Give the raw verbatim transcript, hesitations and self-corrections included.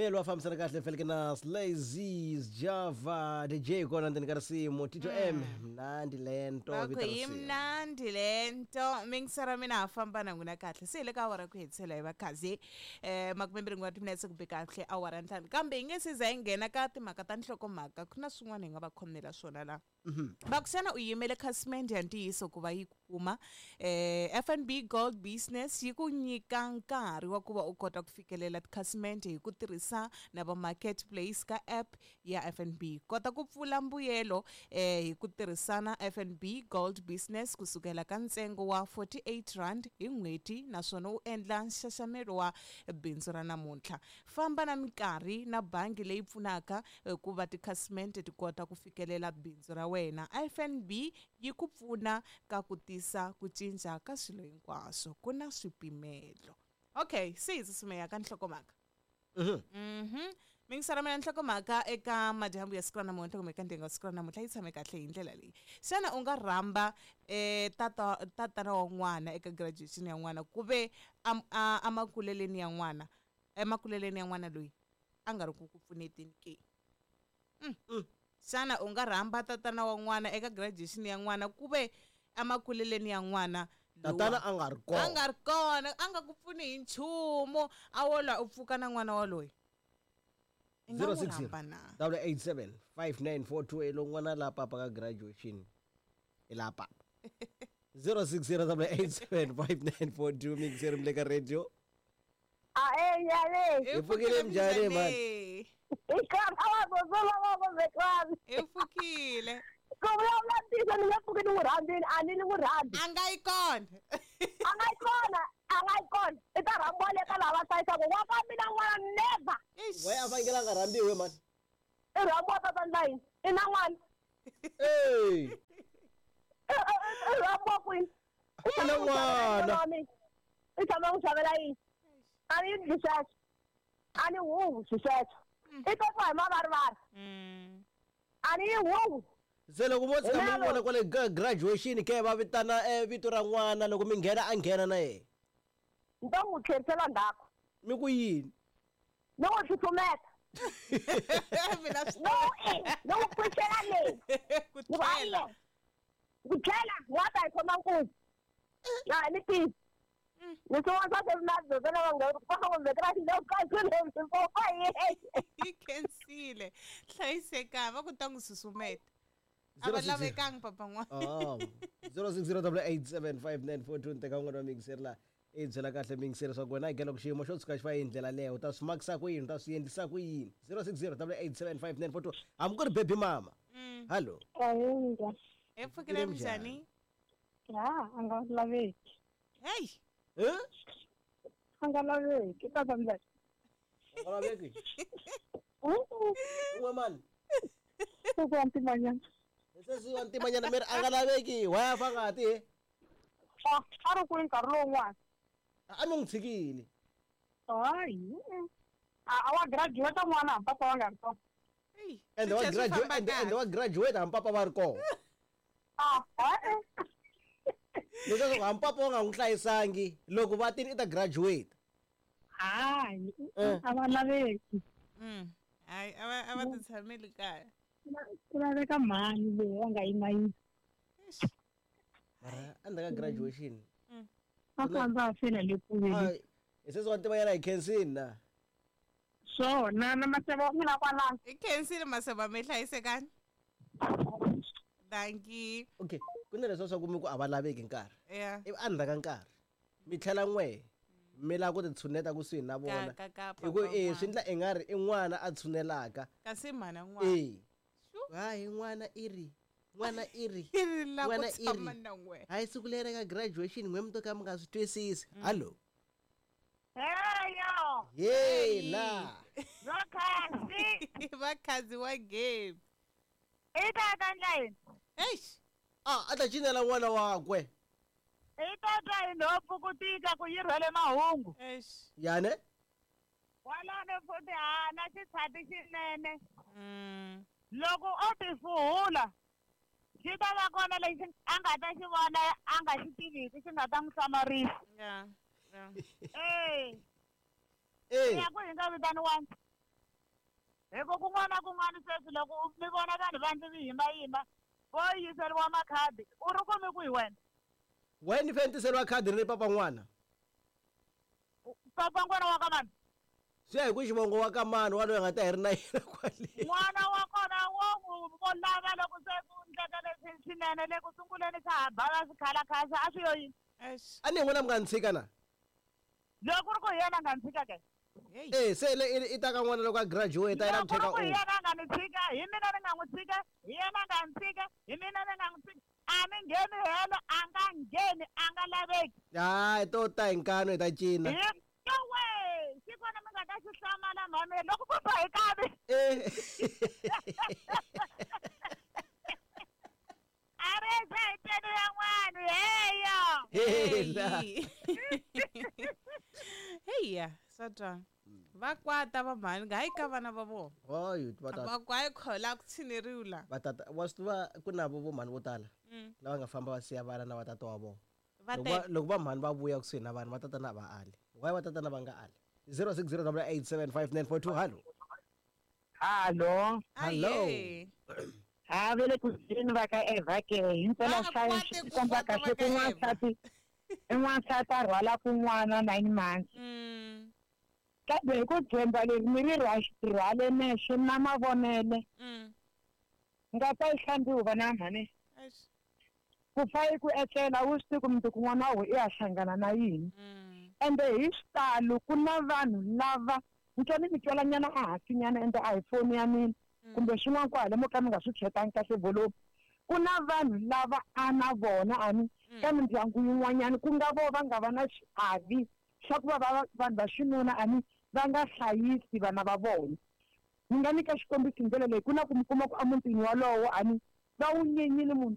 Melo wa fambisana kahle feleke na Slazies Java D J kona ndzeni ka risimu Tito M mnandi lento va ku vito ra yi risimu. mnandi lento mingisara mina ha famba na n'wina kahle se hi le ka awara ku hetisela hi vakhazi um makumembirhi n'we wa timinetse ku be kahle awara ntlhanu kambe hi nge se za hi nghena ka timhaka ta nhlokomhaka ku na swin'wana hi nga va khomela swona laha. Va ku xana u yimele khasimende ya ntiyiso ku va yi ku kuma eh F N B Gold Business yi ku nyika nkarhi wa ku va u kota ku fikelela tikhasimende hi ku tirhisa na va marketplace ka app ya F N B. Kota ku pfula mbuyelo eh hi ku tirhisana F N B Gold Business kusukela ka ntsengo wa forty-eight rand hi n'hweti naswona u endla nxaxamelo wa bindzu ra namuntlha. Famba na minkarhi na bangi leyi pfunaka eh, ku va tikhasimende ti kota ku fikelela bindzu ra wena. F N B yi ku pfuna ka ku tisa ku cinca ka swilo hinkwaswo ku na swipimelo. Okay, se hi tsutsumela ka nhlokomhaka. Mhm. Mingisara mina nhlokomhaka eka madyambu ya siku ra namuntlha kumbe eka ndyangu wa siku ra namuntlha yi tshame kahle hi ndlela leyi. Xana u nga rhamba eh tata tatana wa n'wana eka graduation ya n'wana ku ve am-, a-, emakuleleni ya n'wana, emakuleleni ya n'wana loyi a nga ri ku ku pfuneteni ke? Mm. Mm. Xana u nga rhamba tatana wa n'wana eka graduation ya n'wana ku ve emakuleleni ya n'wana lowa? Tatana a nga ri kona. A nga ri kona, a nga ku pfuni hi nchumu, a wo lwa u pfuka na n'wana waloyi. I nga Zero n'wi six zero, rhamba na? double eight seven, five nine four two, e lo n'wana la papa ka graduation. I la papa. Zero six zero, double eight seven, five nine four two, mixer mle ka radio. A e nyale. Hi Hi pfukile pfukile njhani, man? njhani? I ka wa go zola wa go zekwani. Hi pfukile. Ku vulavula ntiyiso ni nge pfuki ni n'wi rhandzile, a ni ni n'wi rhandzi. A nga yi kona. A nga yi kona, a nga yi kona. I ta rhambiwa le ka lava hlayisaka. Wa ka mina n'wana never. Eish. Why a fanekele a nga rhambiwi, man? I rhambiwa tata ndla yini? I na n'wana. Hey. I, i, i rhambiwa kwini? I na n'wana. I tshama n'wi xavela yini? A ni endli sweswo. A ni huhwi swi sweswo. I to twa hi mavarivari. Mm. A ni yi huhwi. Se loko vo tshika mi Hi vona kwale ka graduation ke va vitana, eh, vito ra n'wana loko mi nghena a nghena na yena. Ni to n'wi tlherisela ndzhaku. Mi ku yini? Ni n'wi tsutsumeta. Mina swi No, eh, ni n'wi pfuxela leyi. Ku Ni ku, tlhela. Ayi, ku tlhela, wa ta hi khoma nkunzi. Ya, ni tivi. Ni swin'wana swa sweswi na byona va nga va nga vekela xilo ka swilo leswi swo fa yena. Yi khensile. Hlayiseka, va ku ta n'wi susumeta. A Zero va six zero. lavekangi papa n'wana. Oh, zero six zero double eight seven five nine four two, teka un'wana wa mixer la. I byela kahle mixer leswaku wena hi loko xiyimo xo tshuka xi va hi ndlela leyo, u ta swi makisa ku yini, u ta swi endlisa ku yini? Zero six zero double eight seven five nine four two. Hambi ku ri baby mama. Mm. Hello. Ahindza. Hi pfukile Pfukile njhani? njhani? Ya, a nga laveki. Hey. Eh? A nga laveki, tata ndlela. A nga laveki? Mm-mm. Un'we mani? Sesi wa ntimanyana. Sesi wa ntimanyana mi ri a nga laveki, why a fa ngati he? A, a ri kwihi nkarhi lowun'wana? A mi n'wi tshikile. Hayi. A, a wa graduate n'wana hambi papa va nga ri kona. Hey, Ende wa swi tlhela swi graduate, famba ende, ende kahle. wa graduate hambi papa va ri kona. A, ha-e. Leswaku hambi papa va nga n'wi hlayisangi, loko va tini i ta graduate. Hayi, Eh. a va laveki. Mm. Hayi, a va, a va ti tshameli kaya. Ku laveka mhani leyi va nga yima yima. Eish. Mara endzhaku ka graduation. Mm. A ku andza a fela le kule. Hayi, hi sesi wa ntimanyana hi khensini na. Swona na maseve wa mina kwalano. Hi khensile maseve mi hlayisekani. Dankie. Okay, ku na leswiya swa ku mi ku a va laveki nkarhi. Yeah. Ivi endzhaku ka nkarhi mi tlhela n'we mi lava ku ti tshuneta kusuhi na vona. Ka, ka, ka Hi ku, papa eh, swi n'wana. endla i nga ri i n'wana a tshunelaka. Kasi mhana n'wana. Eh. Sure. Hayi, n'wana i ri, n'wana i ri, I ri la ku n'wana i ri. tshama na n'we. Hayi, siku leri ka graduation n'we mi to ka mi nga swi twisisi. Mm. Hallo. Heyo. Hey, la. Vakhazi. Vakhazi wa game. I tata ndla yini? Eish. Ah, a ta cinela n'wana wakwe. I tata hi nhompfu ku tika ku yi rhwele mahungu. Eish. Yani? Kwalano futhi ha na xitshati xinene. Mm. Loko o tifuhula, xi ta va kona lexi a nga ta xi vona a nga xi tiviki xi nga ta n'wi hlamarisa. Yeah. Yeah. Eh. Eh. Ya ku hi nga vitaniwangi. Hi ku kun'wana na kun'wana sweswi loko u- mi vona vanhu va ndzi mi yimayima vo yiseriwa makhadi u ri kumi kwihi wena wena ni fanele tiseriwa khadi ri papa n'wana papa n'wana wa ka mani swi ya hi ku xivongo wa ka mani wa loyi a nga ta hi ri na yena kwale n'wana wa kona wo n'wi vo lava loko se ku ndleka leswi swinene le ku sunguleni swa ha bava swikhalakhala a swi yo yini Eish. a ni hi n'wina mi nga ni tshika na loko ku ri ku hi yena a nga ni tshika ke Hey. e se le i- i ta ka n'wana loko a graduate a yena loko ku ri teka ku hi u yena a nga ni tshika hi mina ni nga n'wi tshika hi yena a nga ni tshika hi mina ni nga n'wi tshika a ni ngheni helo a nga ngheni a nga laveki hayi to ta hi nkano hi ta cina hi yowe xi kona mi nga ta xi hlamala mhani loko ku ba hi kavi Eh. a ri se hi teni ya n'wana heyo Hela. Hey. Heya, swa twa. Va kwata va mhani nga hayi ka vana va vona. Hayi, va tata Va ku hayi khola ku tshineriwi la. va tata wa swi tiva ku na vo mhani vo tala Mm. lava nga famba va siya vana na vatata wa vona Va loko va- tele. loko va mhani va vuya kusuhi na vanhu vatatana a va ali why vatatana va nga ali zero six zero double eight seven five nine four two hallo hallo Hello. Aye. ha ve le ku byeleni va ka Eva ke himpela Va swa kwate swi ku komba kwata va kahle ka ku Eva. n'wansati i n'wansati a rhwala kun'wana nine months Mm. kambe hi ku dzemba leri mi ri rhwa- rhwale nexe na mavonele Mm. nga ta yi hlambiwa vana mhani Eish. ku fa i ku etlela wu swi tivi ku mundzuku n'wana wa wena i ya hlangana na yini Mm. ende hi xitalo ku na vanhu lava ni twa ni mi twelanyana ehansinyana ende a hi foni ya mina Mm. kumbe swin'wana kwale mo ka mi nga swi chekangi kahle volume ku na vanhu lava a na vona ani Mm. ka mindyangu yin'wanyana ku nga vo va nga va na xiavi xa ku va va vanhu va xinuna ani va nga hlayisi vana va vona ni nga nyika xikombiso hi ndlela leyi ku na ku mi kuma ku emutini walowo ani va wu nyenyile munhu